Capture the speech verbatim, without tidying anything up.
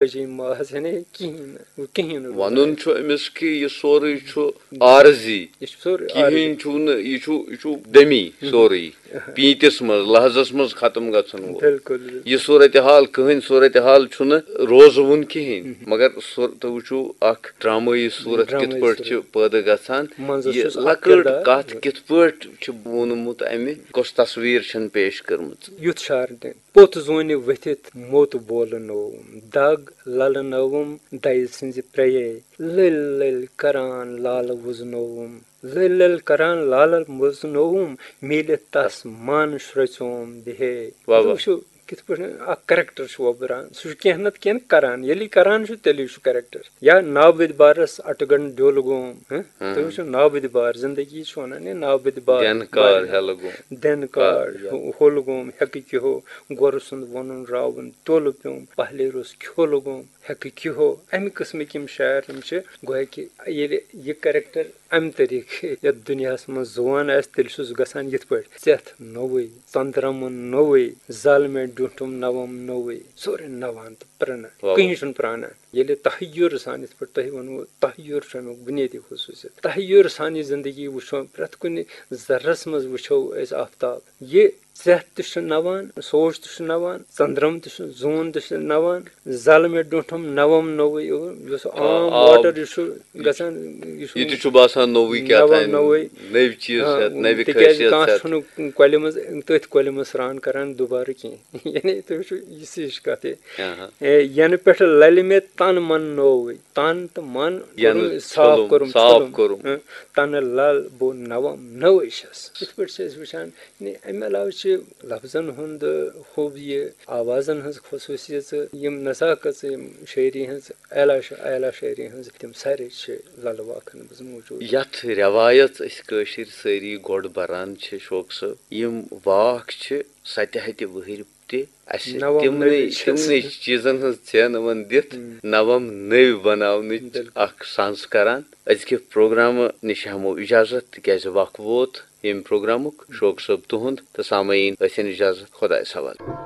بجے ماز، یعنی کِہیٖنۍ نہٕ، کِہیٖنۍ نہٕ۔ وَنُن چھُ أمِس کہِ یہِ سورُے چھُ عارضی۔ یہِ چھُ سورُے کِہیٖنۍ عارضی۔ چھُ نہٕ، یہِ چھُ، یہِ چھُ دٔمی سورُے۔ پیٖنتِس منٛز، لحظس منٛز ختم گژھن وول۔ بِلکُل، بِلکُل۔ یہِ صورتحال، کٕہٕنۍ صورتحال چھُنہٕ روزوُن کِہیٖنۍ۔ مگر صور-، تُہۍ وٕچھِو اکھ ڈرامٲیی صورت کِتھ ڈرامٲیی پٲٹھۍ چھِ صورت۔ پٲدٕ گژھان۔ منٛزس یہِ چھُس اکھ لۄکٕٹ کردار۔ کتھ کِتھ پٲٹھۍ چھِ ووٚنمُت امہِ، کۄس تصویر چھَن پیش کٔرمٕژ۔ یُتھ شعر تہِ۔ پوٚت زونہِ ؤتھِتھ موٚت بولنووُم، دگ للنٲوٕم دَیہِ سٕنٛزِ پرٛیے۔ لٔلۍ لٔلۍ کران لالہٕ وُزنووُم، لٔلۍ لٔلۍ کران لالہٕ وُزنووُم، میٖلِتھ تس من شرٛوژوم بِہے۔ واہ، واہ۔ وٕچھِو، کِتھ پٲٹھۍ اکھ character چھُ وۄبران۔ سُہ چھُ کینٛہہ نتہٕ کینٛہہ کران۔ ییٚلہِ یہِ کران چھُ، تیٚلی چھُ character۔ یا ناوٕدۍ بارس اٹہٕ گنٛڈ ڈیوٚل گوم، ہہ؟ ہاں۔ تُہۍ وٕچھِو، ناوٕدۍ بار، زندگی چھِ ونان یہِ ناوٕدۍ بار۔ دٮ۪نہٕ کار بار۔ ہٮ۪لہٕ گوم۔ دٮ۪نہٕ کار، کار ہٮ۪لہٕ۔ ہُہ-، ہوٚل گوم، ہٮ۪کہٕ کیُہو، گۄرٕ سُنٛد وَنُن راوُن تولہٕ پیوٚم، پہلے روٚس کھیوٚلہٕ گوم، ہٮ۪کہٕ کیُہو۔ اَمہِ قٕسمٕکۍ یِم شاعر یِم چھِ، گویا کہِ ییٚلہِ یہِ character اَمہِ طریٖقہٕ یَتھ دُنیاہَس منٛز زُوان آسہِ، تیٚلہِ چھُس گژھان یِتھ پٲٹھۍ، ژٮ۪تھ نوٚوُے، ژَندرَمُن نوٚوُے، زالمے ڈوٗنٛٹھُم نَوَم نوٚوُے، سورُے نَوان تہٕ پرٛانان، واہ، واہ۔ کٕہٕنۍ چھُنہٕ پرٛانان۔ ییٚلہِ تحیُر سان، یِتھ پٲٹھۍ تۄہہِ ووٚنوُ، تحیُر چھُ اَمیُک بُنیٲدی خصوٗصیت۔ تحیُر سان یہِ زندگی وٕچھو، پرٛٮ۪تھ کُنہِ ذرس منٛز وٕچھو أسۍ آفتاب۔ یہِ ژٮ۪تھ تہِ چھُ نَوان، سوچ تہِ چھُ نَوان، ژندرم تہِ چھُ، زوٗن تہِ چھُ نَوان، زلمہِ ڈوٗنٛٹھُم نَوَم نوٚوُے یُس آ، عام آب۔ Water یُس چھُ گژھان، یہِ چھُ یہِ تہِ چھُ باسان نوٚوُے کیٛاہ نَوَم تام، نوٚوُے۔ نٔوۍ چیٖز آ، ہٮ۪تھ، نٔوۍ تِکیٛازِ خٲصیت کانٛہہ ہٮ۪تھ۔ چھُنہٕ کۄلہِ منٛز، تٔتھۍ کۄلہِ منٛز سرٛان کران دُبارٕ کینٛہہ۔ یعنی تُہۍ وٕچھِو، یہِ سِج کَتھ یہِ۔ آہا۔ اے، ینہٕ پٮ۪ٹھٕ للہِ مےٚ تن من نووُے، تن تہٕ من ینہٕ کوٚرُم صاف ژھوٚلُم، کوٚرُم، صاف ژھوٚلُم۔ کوٚرُم۔ ہاں، تنہٕ لل بہٕ نوم نوے چھَس۔ یِتھ پٲٹھۍ چھِ أسۍ وٕچھان، یعنی اَمہِ علاوٕ چھِ لفظن ہُنٛد خوٗبیہِ، آوازن ہٕنٛز خصوٗصیژٕ، یِم نزاکژٕ، یِم شٲعری ہٕنٛز اعلیٰ شا-، اعلیٰ شٲعری ہٕنٛز، تِم سارے چھِ للہٕ واکھن منٛز موٗجوٗد۔ یتھ رٮ۪وایژ أسۍ کٲشِرۍ سٲری گۄڈٕ بران چھِ، شوق صٲب، یِم واکھ چھِ ستہِ ہتہِ وٕہٕرۍ تہِ اَسہِ نوم تِمنٕے، نٔوۍ چھِ تِمنٕے چیٖزن ہٕنٛز ژینہٕ وَن دِتھ ہم۔ نوم نٔوۍ بناونٕچ بِلکُل۔ اکھ سنٛز کران۔ أزکہِ پروگرامہٕ نِش ہٮ۪مو اجازت، تِکیازِ وق ووت ییٚمہِ پروگرامُک۔ شوق صٲب تُہُنٛد تہٕ سامعیٖن ٲسِن اجازت۔ خۄدایَس حوالہٕ۔